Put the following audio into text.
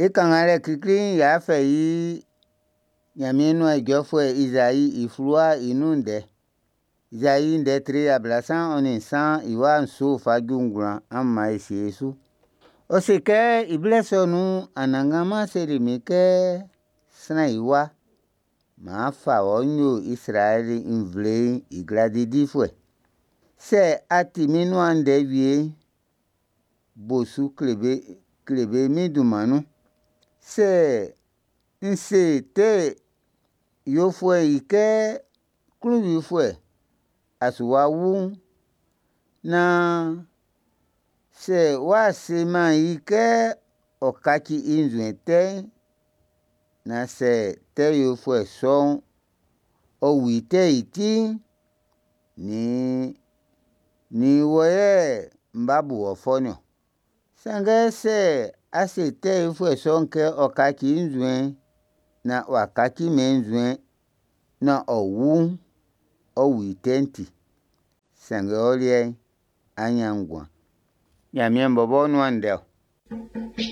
E kannganlɛ klikli'n y'a fɛ i Ɲanmiɛn nuan ijɔfuɛ Izai i fluwa'n i nun ndɛ. Izai ndɛ tre 33 i wa 7 fa ju 9, an man e sie e su. Ɔ se kɛ i blɛ sɔ nun'n, Anannganman seli min kɛ, sran i wa, m'an fa wɔ n yo Izraɛli nvle'n i gladi difuɛ. Sɛ a ti min nuan ndɛ wie'n, bo su kle be, kle be min dunman nun. Sɛ n se tɛ yofuɛ'n i kɛ, klunwifuɛ, a su wa wu'n, naan sɛ w'a semɛn i kɛ ɔ kaci i nzuɛn tɛ'n, naan sɛ tɛ yofuɛ sɔ'n ɔ wu i tɛ'n i ti'n, nin, nin wɔ yɛ n b'a bu wɔ fɔ'n niɔn. Sanngɛ sɛ a se tɛ yofuɛ sɔ'n kɛ ɔ kaci i nzuɛn'n, naan w'a kacimɛn i nzuɛn'n, naan ɔ wu'n, ɔ wu i tɛ'n ti. Sanngɛ ɔ liɛ'n, á ɲán nguan. Ɲanmiɛn bɔbɔ nuan ndɛ ɔ.